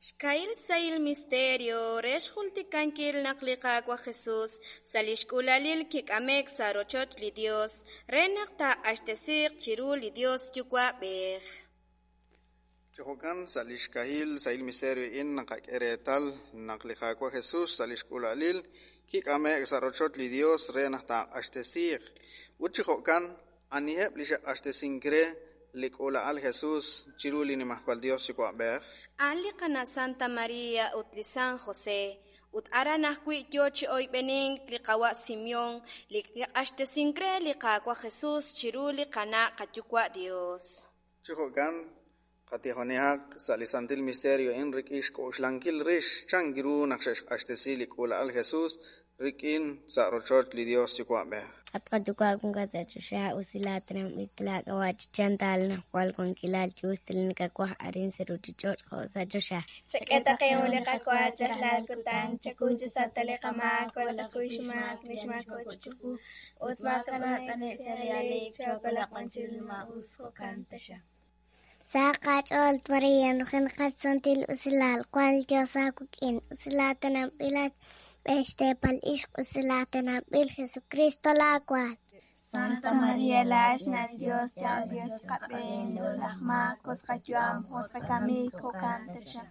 Xkahil sahil misterio re xjultikankil naq li Qaawa' Jesus sa' li xk'uulalil kik'ame'k sa' rochoch li Yos re naq taaq'axtesiiq chiru li Yos Yuwa'b'ej. Chi jo'kan, sa' li xkahil sahil misterio a'in naqak'e reetal naq li Qaawa' Jesus sa' li xk'uula'alil kik'ame'k sa' rochoch li Yos re naq taaq'axtesiiq. Ut chi jo'kan, aniheb' li xe'q'axtesink re li k'uula'al Jesus chiru li Nimajwal Yos Yuwa'b'ej? A'an li qana' Santa María ut li San José, ut aran ajwi' yo chi oyb'enink li qawa' Simeón li kiq'axtesink re li Qaawa' Jesus chiru li qana' qayuwa' Dios. Chi jo'kan, qatijonihaq sa' li santil misterio a'in rik'in xk'oxlankil rix chan ru naq xe'xq'axtesi li k'uula'al Jesus rik'in sa' rochoch li Dios Yuwa'b'ej. At qayuwa' wankat sa' choxa, usilaatinanb'il laak'ab'a' chi chantal najwal wankilal chi us li nakawaj arin sa' ruuchich'och' jo' sa' choxa. Chak'e taqe'un li qawa rajlal kutan, chakuy chi sa' ta li qamaak, walaqakuy xmaak li xmaako' chiqu, ut maakanab' sa' li aleek, chookolaq b'an chiru li maa'us, jo'kan taxaq. Sa' qach'ool María, nujenaqat santil usilal, wank li Dios aawik'in, usilaatinanb'ilat xb'een xteepal ixq, usilaatinanb'il Jesucristo laawaal. Santa María laa'ex na' li Dios, yaw Dios qab'een, laj maak, us qayu'am, us qakamik, jo'kan taxaq.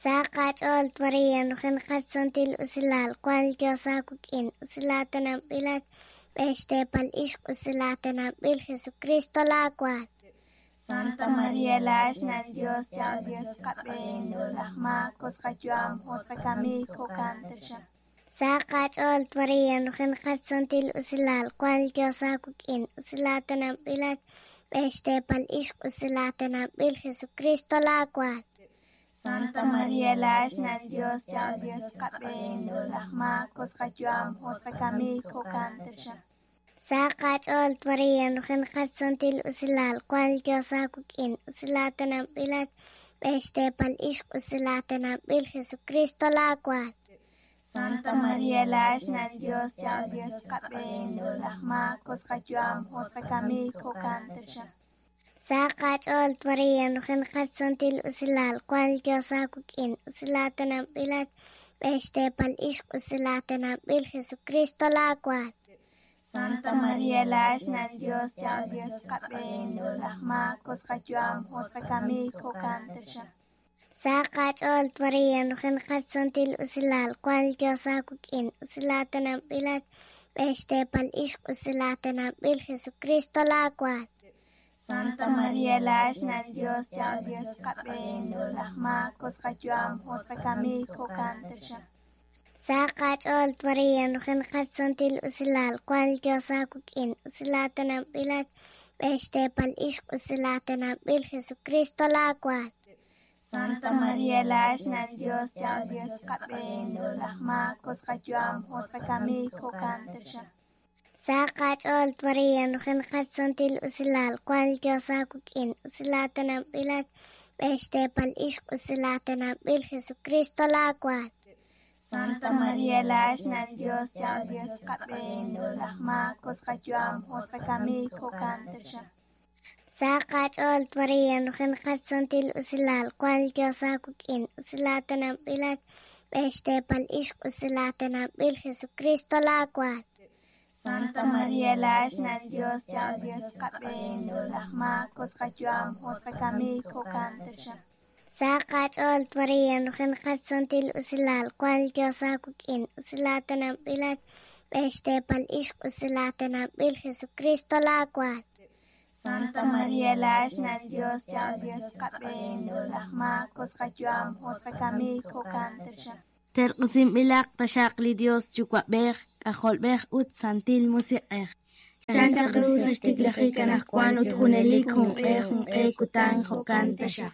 Sa' qach'ool María, nujenaqat santil usilal, wank li Dios aawik'in, usilaatinanb'ilat xb'een xteepal ixq, usilaatinanb'il Jesucristo laawaal. Santa María laa'ex na' li Dios, yaw Dios qab'een, laj maak, us qayu'am, us qakamik, jo'kan taxaq. Sa' qach'ool María, nujenaqat santil usilal, wank li Dios aawik'in, usilaatinanb'ilat xb'een xteepal ixq, usilaatinanb'il Jesucristo laawaal. Santa María laa'ex na' li Dios, yaw Dios qab'een, laj maak, us qayu'am, us qakamik, jo'kan taxaq. Sa' qach'ool María, nujenaqat santil usilal, wank li Dios aawik'in, usilaatinanb'ilat xb'een xteepal ixq, usilaatinanb'il Jesucristo laawaal. Santa María laa'ex na' li Dios, yaw Dios qab'een, laj maak, us qayu'am, us qakamik, jo'kan taxaq. Sa' qach'ool María, nujenaqat santil usilal, wank li Dios aawik'in, usilaatinanb'ilat xb'een xteepal ixq, usilaatinanb'il Jesucristo laawaal. Santa María laa'ex na' li Dios, yaw Dios qab'een, laj maak, us qayu'am, us qakamik, jo'kan taxaq. Sa' qach'ool María, nujenaqat santil usilal, wank li Dios aawik'in, usilaatinanb'ilat xb'een xteepal ixq, usilaatinanb'il Jesucristo laawaal. Santa María laa'ex na' li Dios, yaw Dios qab'een, laj maak, us qayu'am, us qakamik, jo'kan taxaq. Sa' qach'ool María, nujenaqat santil usilal, wank li Dios aawik'in, usilaatinanb'ilat xb'een xteepal ixq, usilaatinanb'il Jesucristo laawaal. Santa María laa'ex na' li Dios, yaw Dios qab'een, laj maak, us qayu'am, us qakamik, jo'kan taxaq. Sa' qach'ool María, nujenaqat santil usilal, wank li Dios aawik'in, usilaatinanb'ilat xb'een xteepal ixq, usilaatinanb'il Jesucristo laawaal. Santa María laa'ex na' li Dios, yaw Dios qab'een, laj maak, us qayu'am, us qakamik, jo'kan taxaq. Sa' qach'ool María, nujenaqat santil usilal, wank li Dios aawik'in, usilaatinanb'ilat xb'een xteepal ixq, usilaatinanb'il Jesucristo laawaal. Santa María laa'ex na' li Dios, yaw Dios qab'een, laj maak, us qayu'am, us qakamik, jo'kan taxaq. Sa' qach'ool María, nujenaqat santil usilal, wank li Dios aawik'in, usilaatinanb'ilat xb'een xteepal ixq, usilaatinanb'il Jesucristo laawaal. Santa María laa'ex na' li Dios, yaw Dios qab'een, laj maak, us qayu'am, us qakamik, jo'kan taxaq. Terq'usinb'ilaq taxaq li Dios Yuwa'b'ej, K'ajolb'ej ut Santil Musiq'ej. Chan chaq ru sa' xtiklajik anaqwan ut junelik junq'e junq'e kutan jo'kan taxaq.